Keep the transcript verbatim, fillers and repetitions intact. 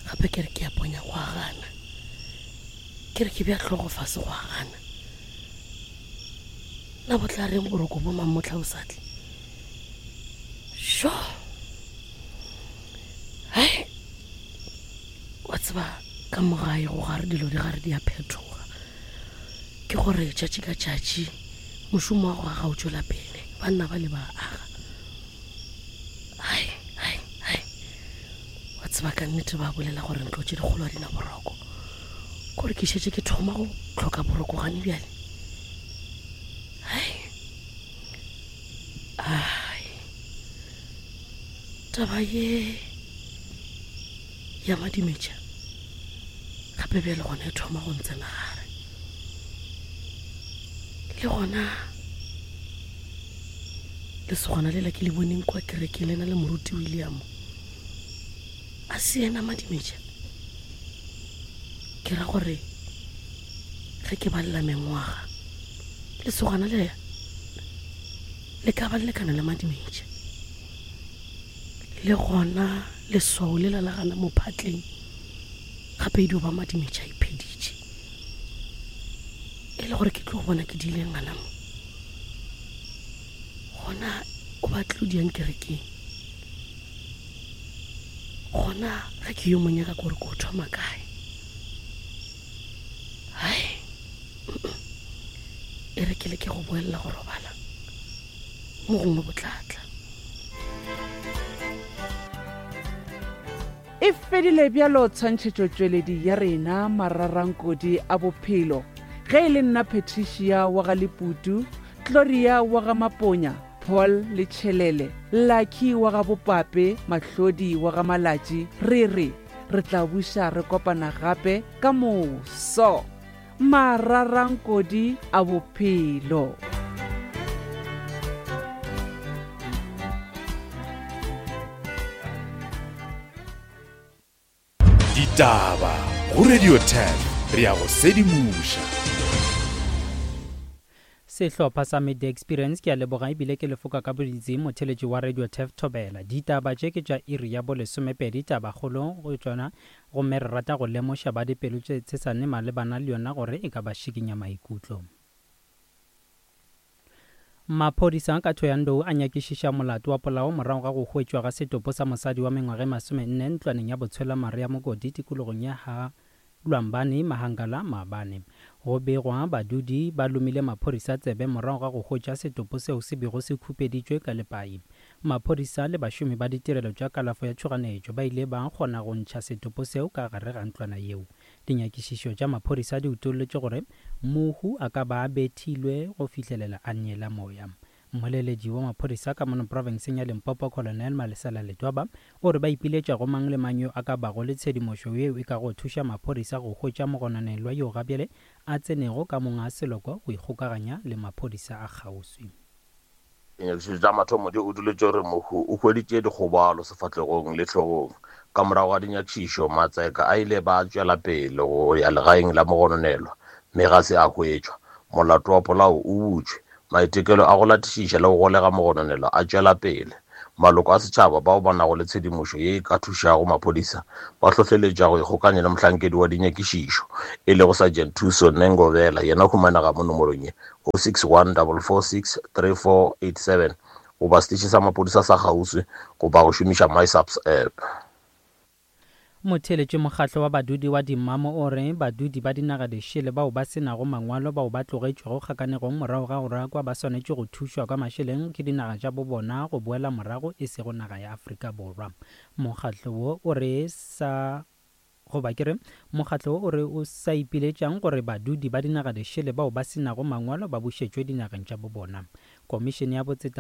Gape ke re ke a ponya go a gana, ke re ke bja hlogo fase go a gana. Na bo tla reng boroko bo mamohla bo sa tle? Sho! Hai! Wa tseba ka mo gae go gare dilo di gare di a phetoga. Ke gore tšatši ka tšatši mošomo wa go aga o tšwela pele, banna ba le ba aga. Hai, hai, hai! Wa tseba ka nnete ba bolela gore ntlo tše dikgolo ga di na boroko. Kore ke šetše ke thoma go hloka boroko gane bjale. Hai! Ai! Taba ye ya madimetša gape bjale gona e thoma go ntsena gare. Le gona lesogana lela ke le boneng kwa kerekeng le na le moruti William, a se yena madimetša? Ke ra gore ge ke balela mengwaga, lesogana le le ka ba le lekana le madimetša. Le gona leswao lela la gana mo phatleng gape e dio ba madimetša a ipheditše. E le gore ke tlo bona ke diileng gana mo. Gona o batlile o diang kerekeng. Gona ge ke yo mo nyaka kore ko thoma kae? Hai! E re ke leke go boelela go robala, mo gongwe bo tla tla. E fedile bjalo tshwantšhetšotšweledi ya rena Mararankodi a Bophelo. Ge e le nna Patricia wa ga Leputu, Gloria wa ga Maponya, Paul le Tšhelele, Lucky wa ga Bopape, Mahlodi wa ga Malatši, re re re tla buša re kopana gape ka moso. Mararankodi a Bophelo. Ditaba go Radio ten re ya go sedimoša. Sehlopha sa Media Experience ke a leboga ebile ke lefoka ka boditsi motheletši wa Radio Tef Thobela. Ditaba tše ke tša iri ya bolesomepedi tabakgolo go tšona, gomme re rata go lemoša ba dipelo tše tshesane malebana le yona gore e ka ba šikinya maikutlo. Maphodisa ka Thohoyandou a nyakišiša molato wa polao morago ga go hwetšwa ga setopo sa mosadi wa mengwaga e masomenne ntlwaneng ya botshwelamare ya Mokoti tikologong ya Ha Lwambane Mahangala maabane. Go begwa badudi ba lomile maphodisa tsebe morago ga go hwetša setopo seo se bego se khupeditšwe ka lepai. Maphodisa le bašomi ba ditirelo tša kalafo ya tšhoganetšo ba ile ba kgona go ntšha setopo seo ka gare ga ntlwana yeo. Dinyakišišo tša maphodisa di utolotše gore mohu a ka ba a bethilwe go fihlelela a neela moya. Mmoleledi wa maphodisa ka mono profenseng ya Limpopo Colonel Malesela Letwaba o re ba ipiletša go mang le mang yo a ka bago le tshedimošo yeo e ka go thuša maphodisa go hwetša mogononelwa yo gabjale a tsenego ka monga seloko go ikgokaganya le maphodisa a kgauswi. Dinyakišišo tša mathomo di utolotše gore mohu o hweditše dikgobalo sefahlegong le hlogong. Ka morago ga dinyakišišo, matseka a ile ba tšwela pele go ya legaeng la mogononelwa mme ga se a hwetšwa. Molato wa polao o butšwe. Maitekelo a go latišiša le go golega mogononelwa a tšwela pele. Maloko a setšhaba bao ba nago le tshedimošo ye e ka thušago maphodisa ba hlohleletša go ikgokanya le mohlankedi wa dinyakišišo e lego Sergeant Thuso Nengovela, yena humanega mo nomorong ye oh six one double four six three four eight seven goba seteše sa maphodisa sa kgauswi goba go šomiša MySAPS app. Motheeletši mokgatlo wa badudi wa Dimamo o re badudi ba dinaga dišele bao ba se nago mangwalo bao ba tlogetšwego kgakanegong morago ga go rakwa ba swanetše go thušwa ka mašeleng ke dinaga tša bobona go boela morago e sego naga ya Afrika Borwa. Mokgatlo wo o re sa goba ke re mokgatlo wo o re o sa ipiletšang gore badudi ba dinaga dišele bao ba se nago mangwalo ba bušetšwe dinageng tša bobona. Komišene ya botseta